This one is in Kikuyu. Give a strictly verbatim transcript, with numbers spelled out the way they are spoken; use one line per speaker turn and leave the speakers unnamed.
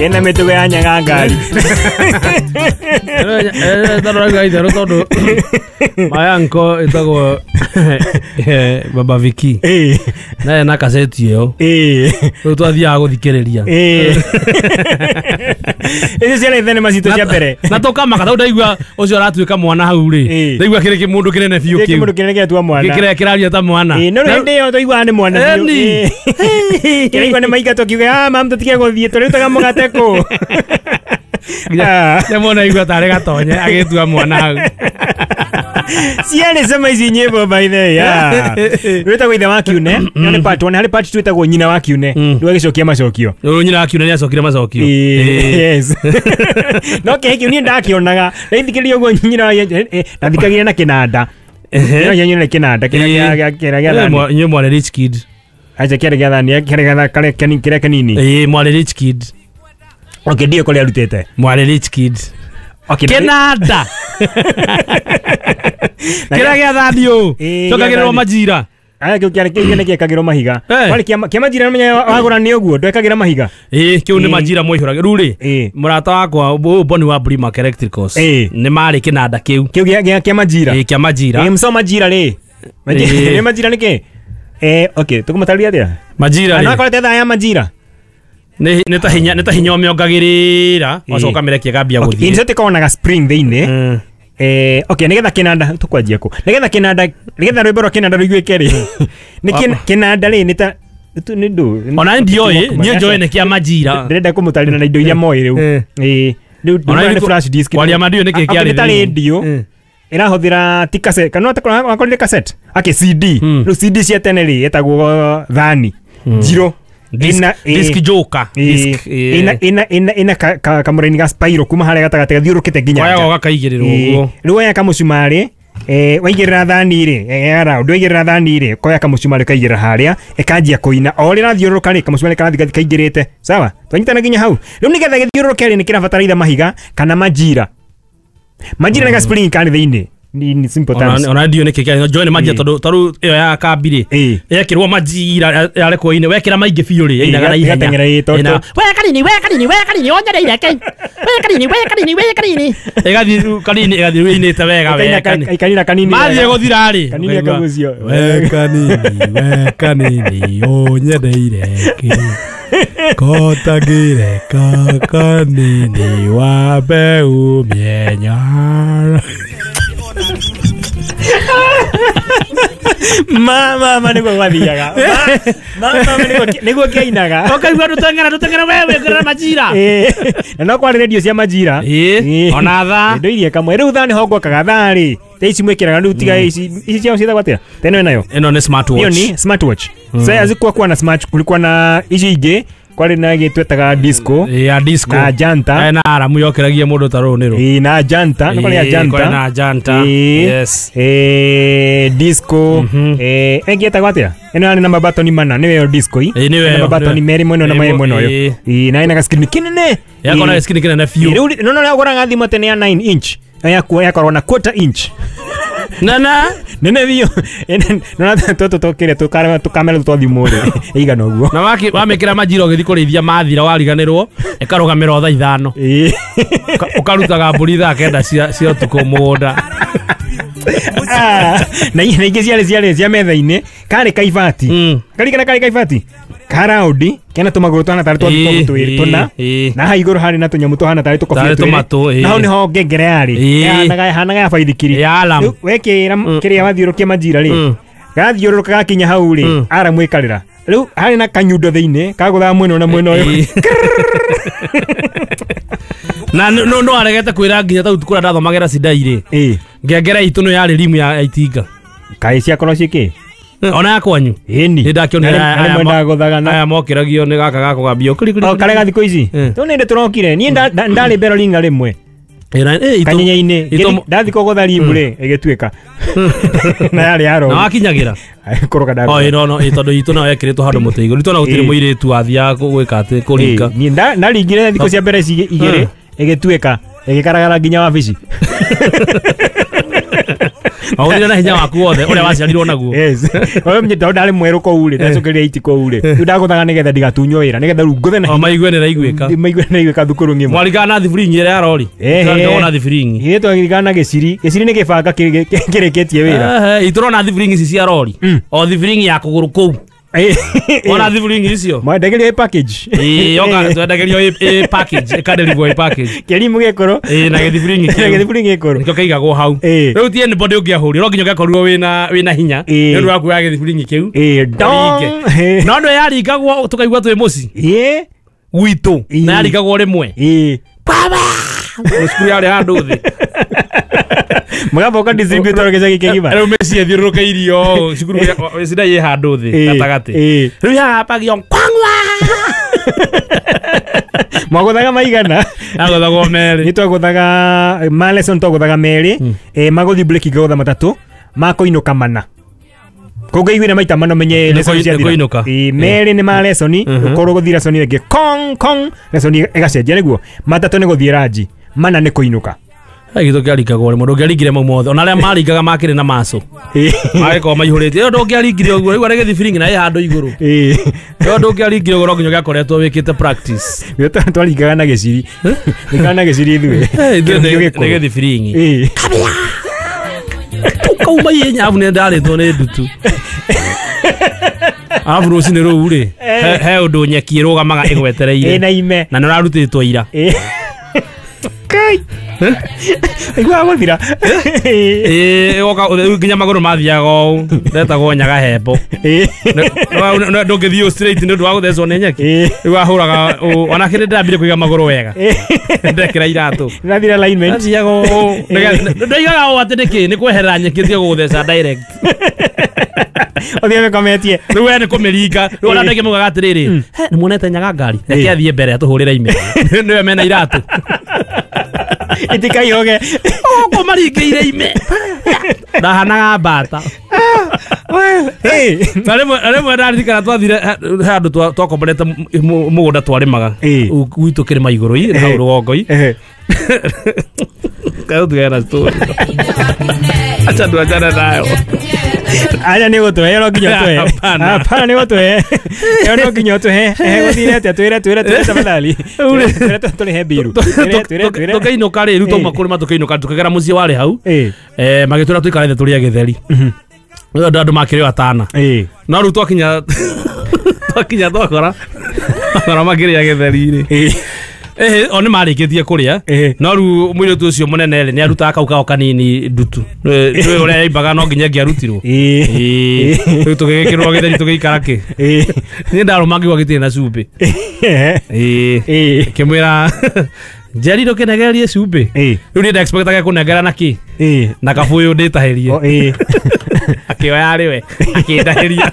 Ena mĩtugo ya nyaga ngari.
Ndarora itherũ tondũ my uncle ĩtagwo Baba Viki.
Ĩĩ.
Naye na kaseti ĩyo.
Ĩĩ.
Rĩu twathiaga gũthikĩrĩria.
Ĩĩ. Icio ciarĩ thenema citũ cia mbere.
Na tũkamaka tondũ ndaigua ũcio aratuĩka mwana hau rĩ.
Ĩĩ.
Ndaigua kĩrĩ kĩmũndũ kĩnene biũ
Gĩkĩ
kĩu.
mũndũ kĩnene gĩatua mwana.
Kĩrĩa kĩraria ta mwana.
Ĩĩ, no rĩu hĩndĩ ĩyo twaiguaga nĩ mwana biũ.
Ĩni.
Ĩĩ. Kĩraigua nĩ maingatwo kiuge ah mam tũtige gũthiĩ tũrĩrutaga mũgate kũ. Ah.
Nĩ mwana aigua tarĩ gatonye agĩtua mwana hau.
Ciarĩ cema ici nyĩmbo by the way. Yeah. Rwĩtagwo ithe wa kiune. Ĩyo nĩ part one, harĩ part two ĩtagwo nyina wa kiune.
Mm.
Rĩu agĩcokia macokio.
Rĩu nyina wa kiune nĩacokire macokio.
Ĩĩ, yes. No kĩhĩ kĩu niĩ ndakĩonaga. Ndaithikĩrĩria ũguo nyina wa eh, ndathikagĩrĩria na kĩnanda.
Ehe.
Nyina wa kĩnanda kĩrĩa gĩa- gĩa- kĩrĩa gĩa
Eh,
thani.
mwa- Inyuĩ mwarĩ rich kid.
Acha kĩarĩ gĩa thani, kĩarĩ gĩa karĩa kani- kĩrĩa kanini.
Ĩĩ mwarĩ rich kid.
Okay, ndiũ kũrĩa arutĩte.
Mwarĩ rich kid.
Okay, na-
Kĩnanda.
Na-
Kĩrĩa gĩa thani ũũ.
Ĩĩ,
Cokagĩrĩrwo
gĩa thani.
majira.
Aya kĩu kĩarĩ kĩu nĩ gĩekagĩrwo mahiga.
Eh.
Kwarĩ kĩa kĩa majira menya wagũra nĩ ũguo ndwekagĩra mahiga.
Ĩĩ kĩu nĩ
Ĩĩ.
majira mwaihũraga. Rĩu rĩ
Ĩĩ.
mũrata wakwa ũyũ Boni wa Brimac Electricals
Ĩĩ.
nĩ marĩ kĩnanda kĩu.
Kĩu gĩa gĩa kĩa majira.
Ĩĩ kĩa majira.
Ĩĩ mso majira rĩ. Majira
Ĩĩ.
nĩ majira nĩkĩ? Eh, okay, tũkũmũtarĩria atĩa?
Majira
Ana
rĩ
akorete thaa ya majira.
nĩ nĩ ta hinya nĩ ta hinya ũmĩongagĩrĩra
Ĩĩ.
wacoka mĩrekia ĩkambia
Okay,
gũthiĩ.
insert ĩkoragwo na ga spring thĩinĩ.
Mm.
Eh, okay, nĩgetha kĩnanda tũkwanjia kũ? Nĩgetha kĩnanda nĩgetha rwĩmbo rwa kĩnanda rũiguĩke rĩ. Nĩ kĩ- kĩnanda rĩ nĩ ta nĩ nĩ ndũ.
Ona ndioĩ niĩ njoĩ nĩ kĩa majira.
Ndĩrenda kũmũtarĩria na indo iria moĩ rĩu.
Eh.
Ĩĩ. Rĩu
Ona
ndĩrona nĩ
nĩ
flash disk.
Kwaria ma ndiũĩ nĩkĩ
Okay,
kĩarĩ
nĩ ta
thĩinĩ.
radio.
Mm.
Ĩrahũthĩra ti cassette kana wakorire cassette ake C D
Mm.
rĩu C D cia tene rĩ ĩtagwo thani njirũ
Disc
Ĩna- ĩ-
disc joker.
ĩ-
Disc ĩ.
ĩna ĩna ĩna ĩna ka- ka- kamũraini ga spiral kuma harĩa gatagatĩ gathiũrũkĩte nginya
Koyaga
nja.
ũgakaigĩrĩrwo
Ĩ,
ũguo.
rĩu woya kamũcumarĩ eh, waigĩrĩra thani rĩ eh, ya round waigĩrĩra thani rĩ koya kamũcumarĩ ũkaigĩrĩra harĩa ĩkanjia kũina o ũrĩa ĩrathiũrũrũka rĩ kamũcumarĩ karathiĩ gathi kaingĩrĩte sawa twanyitana nginya hau rĩu nĩgetha gĩthiũrũrũke rĩ nĩ kĩrabatara itha mahiga kana majira majira nĩ ga spring karĩ thĩinĩ ni ni simple
Ona
terms
ona ndiũĩ nĩkĩ kĩarĩ njoĩ nĩ majira
Ĩĩ.
tondũ tarĩu ĩyo ya kambi rĩ
Ĩĩ.
yekĩrwo majira yarekwo ine wekĩra maingĩ biũ rĩ yainaga na ihenya.
ĩgateng'era, ĩĩ, tondũ-
Ĩinaga,
We kanini we kanini we kanini onyereire ke we kanini we kanini we kanini
ĩgathiĩ rĩu kanini ĩgathiĩ rĩu ĩinĩte wega
Ĩkaina
we
ka-
kanini.
ĩkanina kanini
Mathiĩ
wega.
gũthira rĩ
Kanini
ũkaigua,
akagucio.
we kanini we kanini ũnyendeire kĩ kotangĩreka kanini wambe umie nyara.
Ma ma ma nĩguo gwathiaga Ma- ma ma ma nĩguo nĩguo kĩainaga
Ũkaigua ndũteng'era ndũteng'era we wĩkĩrĩra majira.
Ĩĩ. Na no kwarĩ radio cia majira
Ĩĩ,
Ĩĩ.
ona thaa.
Indo iria kamwe rĩu thaa nĩho ngwakaga thaa rĩ ta ici mwĩkĩraga rĩu tiga ici ici ciao ciĩtagwo atĩa teno ĩnayo
Ĩno nĩ smartwatch.
hiyo ni smartwatch sasa hazikuwa kuwa na smart kulikuwa na ici ingĩ kwarĩ na ĩngĩ twetaga disco
Ĩĩ, ya disco.
na janta
Ĩ, na aramu yokĩragia mũndũ ta rũũ nĩ rũ.
Ĩĩ, na janta nĩ kwarĩ ya
Ĩĩ,
janta
kwarĩ na janta.
Ĩĩ.
Yes.
Eh, disco eh ĩngĩ ĩtagwo atĩa ĩno yarĩ na mabatoni mana nĩyo ĩyo disco ĩ
Ĩĩ, nĩyo
Ĩna
ĩyo,
mabatoni
nĩyo.
merĩ mwena ũyũ na
Ĩĩ,
merĩ mwena ũyũ
ĩĩ.
Ĩĩ, na ĩna gaskrini kĩnene
Yakorwo na
Ĩĩ.
screen kĩnene biũ.
Rĩu no no ũgũraga thimũ tene ya nine inch yakuo yakorwo na quarter inch
Nana.
nene biũ nona tũtũ tũkĩrĩa tũkamera twa thimũ rĩ ĩigana ũguo
Na waki wamĩkĩra majira ũgĩthiĩ kũrĩithia mathira wariganĩrwo ĩkarũgamĩra o thaa ithano.
Ĩĩ.
Ũka- Ũkarutaga mbũri thaa kenda cia cia ũtukũ mũgũnda.
Ah, na na ingĩ ciarĩ ciarĩ cia metha-inĩ karĩ kaibati
Mm.
karikana karĩ kaibati karaundi kena tũmagũrũ tũhana tarĩ twa
Ĩĩ,
tũkobia twĩrĩ
ĩĩ,
tũna
ĩĩ.
na haha igũrũ harĩ na tũnyamũ tũhana tarĩ tũkobia
Tarĩ
twĩrĩ
tũmatũ, ĩĩ.
na hau nĩho ngengere yarĩ
Ĩĩ.
yahanaga yahanaga ya baithikiri
Ya alarm.
Rĩu wekĩra kĩrĩa wathiũrũkia majira rĩ
Mm.
gathiũrũrũka gakinya hau rĩ
Mm.
aramu ĩkarĩra rĩu harĩ na kanyundo thĩinĩ kagũthaga mwena ũyũ na mwena ũyũ
Ĩĩ. Na no no no aregete kwĩra nginya tau kũrĩa ndathomagĩra Sidai rĩ.
Ĩĩ.
Ngengere itũ nĩ yarĩ rimu ya ya itinga.
Kaĩ ciakorwo ciĩ kĩ
Ona ya kwanyu.
ĩni
Nĩ ndakĩonire aya- aya mo-
mwendaga gũthaga na
Aya mokĩragio nĩ gaka gakũgambio. Kuri kuri.
o karega thikũ ici
Eh.
tũ nĩ ndĩ tũrokire niĩ nda- nda- ndarĩ beroringa rĩmwe
Ĩĩ, na- ĩĩ, itũ-
kanyenya-inĩ
itũ-
Ngĩthi- ndathi kũgũtha rimu rĩ ĩgĩtuĩka na yarĩ
Na
ya
wakinyagĩra.
kũrũga
O ĩĩ, no no ĩĩ, tondũ itũ nayo yekĩrĩtwo handũ mũtĩ igũrũ. Itũ na gũtirĩ
Ĩĩ.
mũirĩtu wathiaga kũ- gwĩka atĩ kũringa.
niĩ nda- ndaringire thikũ cia mbere ici igĩrĩ
Mm.
ĩgĩtuĩka ĩgĩkaragara nginya wabici
Wagũthire na hinya waku wothe ũrĩa waciarirwo naguo.
Yes. Wewe mnyita ndarĩ mwerũ kũu rĩ, ndacokeria iti kũu rĩ. Rĩu ndagũthaga nĩgetha ndigatunywo wĩra, nĩgetha rĩu ngũthe na
O maigue nĩ raiguĩka.
maigue nĩ raiguĩka thukuru ng'ima.
Mwarigana na thibiringi ĩrĩa ya rori.
Ehe.
Twarigagwo na thibiringi.
Ithuĩ twarigana na gĩciri. Gĩciri nĩ gĩbanga kĩrĩ- kĩrĩkĩtie wĩra.
Ehe, itũrona thibiringi ici cia rori. O thibiringi ya kũgũrũ kũu. Ona thibiringi icio.
Mwendagerio ĩ package.
Ĩĩ, yoka twendagĩrio ĩ ĩ package, ĩkaderivwo ĩ package.
Kĩrimũ gĩkũrũ.
Ĩĩ, na gĩthibiringi
Na
kĩu.
gĩthibiringi gĩkũrũ.
Nĩkĩo kĩigagwo hau.
Ĩĩ.
Rĩu ti anybody ũngĩahũrire, no nginya ũngĩakorirwo wĩna wĩna hinya.
Ĩĩ.
Nĩ ũndũ wa kuoya gĩthibiringi kĩu.
Ĩĩ, dong.
Ũringe. No ndũ yaringagwo tũkaigua twĩ mũciĩ
Ĩĩ.
gwitũ
Ĩĩ.
na yaringagwo rĩmwe.
Ĩĩ.
Baba! Cukuru yarĩ handũ thĩ.
Mũgaboka distributor gĩcagi kĩgima.
Rĩu mĩciĩ ĩthiũrũrũkĩirio ũũ, cukuru ĩcinda ĩ handũ thĩ
Ĩĩ.
gatagatĩ.
Ĩĩ.
Rĩu yahambagio kwangwa.
Mwagũthaga maigana.
Yagũthagwo merĩ.
Nĩ twagũthaga ma lesson twagũthaga merĩ, eh magũthiĩ break ngagũtha matatũ, makũinũka mana. Kũngĩiguire maita mana menye
Nĩ
lesson
kũi-
ciathira.
nĩ kũinũka.
Ĩĩ, merĩ nĩ ma lesson, ũkorwo gũthiĩ lesson ĩngĩ kong kong lesson ĩgacenjia nĩguo. Matatũ nĩ gũthiĩ ranji, mana nĩ kũinũka.
Gĩtũ kĩaringagwo rĩmwe ndũngĩaringire mau mothe ona arĩa maringaga makĩrĩ na maco
Ĩĩ.
magĩkorwo maihũrĩte ĩyo ndũngĩaringire ũguo rĩu arĩ gĩthibiringi na ĩ handũ igũrũ
Ĩĩ.
ĩyo ndũngĩaringire ũguo no nginya ũngĩakoretwo wĩkĩte practice.
Ithuĩ twa- twaringaga na gĩciri. Ringaga na gĩciri ithuĩ.
Eh, ithuĩ
Kĩrũngio
nĩ
gĩkũrũ.
nĩ gĩthibiringi
Ĩĩ.
Tũkauma ihenya arabu nĩ ndarĩtwo nĩ ndutu. Arabu rũcinĩ rũu rĩ he he ũndũ nyeki ĩrũgamaga ĩgwetereire
Ĩna ime.
na nĩ ũrarutĩtwo ira.
Ĩĩ. Kai. Iguaga gũthira. Ĩĩ.
Ĩĩ, woka rĩu nginya magũrũ mathiaga ũũ ndetagwo nyaga hembo.
Ĩĩ.
Ndũngĩthiĩ straight nĩ ũndũ wa gũthecwo nĩ nyeki.
Ĩĩ.
Rĩu ahũraga ũũ ona kĩrĩ ndĩrambire kũiga magũrũ wega ndekĩra iratũ
Nathira alignment.
athiaga ũũ ndoigaga ũũ atĩ nĩkĩ nĩ kweherera nyeki ĩtige gũgũtheca direct.
Ũthiĩ wĩkometie.
Rĩu we nĩ kũmĩringa rĩu ona andũ aingĩ maugaga atĩrĩrĩ, he nĩ muonete nyaga ngari reke athiĩ mbere atũhũrĩre ime nĩwe mena iratũ
Itikaihoge.
ũkũ maringĩire ime ndahanaga mbata.
Ĩĩ.
Na rĩmwe na rĩmwe ndaririkana twathire he handũ twa- twakomborete mũ- mũgũnda twarĩmaga
Ĩĩ.
gwitũ kĩrĩma igũrũ i hau rũgongo i
Ehe.
Kaĩ tũgere na story. Acha tuachane nayo.
Aja nĩ gũtũhe no nginya ũtũhe.
Hapana.
Hapana nĩ gũtũhe. Ĩyo no nginya ũtũhe. Ehe gũthire atĩa twĩre twĩre twĩre tafadhali. Twĩre tũrĩhe mbiru. Twĩre twĩre twĩre.
Tũkĩinũka rĩ rĩu twauma kũrĩma tũkĩinũka tũkĩgera mũciĩ warĩ hau
Ĩĩ.
eh magĩtwĩra tũikare thĩ tũrĩe gĩtheri. Rĩu andũ andũ makĩrĩ o atana.
Ĩĩ.
No rĩu twakinya twakinya twakora twakora makĩrĩa gĩtheri rĩ.
Ĩĩ.
Ehe, o nĩ marĩkĩtie kũrĩa
Ĩĩ.
no rĩu mũirĩtu ũcio mũnene rĩ nĩ arutaga kau kao kanini ndutu nĩ ũrĩa yaimbaga no nginya ĩngĩarutirwo.
Ĩĩ.
Ĩĩ. Rĩu tũgĩgĩkĩrwo gĩtheri tũgĩikara kĩ
Ĩĩ.
niĩ ndarũma ngĩigua gĩtirĩ na cumbĩ. Ĩĩ.
Ĩĩ.
Ngĩmwĩra Njeri ndũkĩnengererie cumbĩ.
Ĩĩ.
Rĩu niĩ ndexpectaga kũnengera na kĩ
Ĩĩ.
na kabũyũ ndĩtahĩrie.
O ĩĩ.
Akĩoya arĩ we akĩndahĩria.